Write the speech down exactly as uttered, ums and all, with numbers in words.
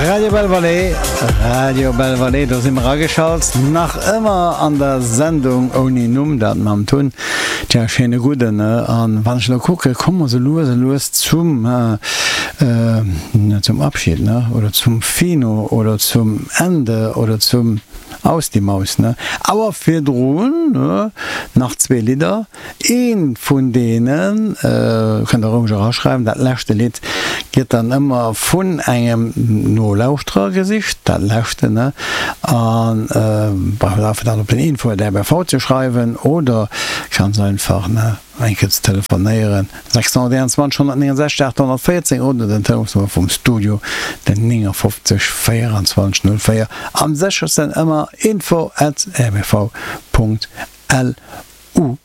Radio Belle Vallée, Radio Belle Vallée, do si mer ageschalt, nach ëmmer an der Sendung ouni Numm, dat mam Tun. Tja, schéine gudden, ne? An wann ech elo kucke, komme mer sou lues a lues zum, äh, zum Abschied, ne? Oder zum Fino oder zum Ende oder zum Aus die Maus, ne? Awer virdrun, ne, nach zwee Lidder. Eent vun deenen, kënnt der roueg eraschreiwen, dat leschte Lidd gëtt dann ëmmer vun engem Nolauschterer gesicht, dat leschte, ne? An braucht einfach dann op den info at rbv ze schreiwen oder ganz einfach, ne, eng Kéier ze telefonéieren, sechshonnerteenundzwanzeg honnertnéngensechzeg achthonnertvéierzéng oder den Telefonsnummer vum Studio, den néngafofzeg véierundzwanzeg null véier. Am séchersten ëmmer info at rbv Punkt lu.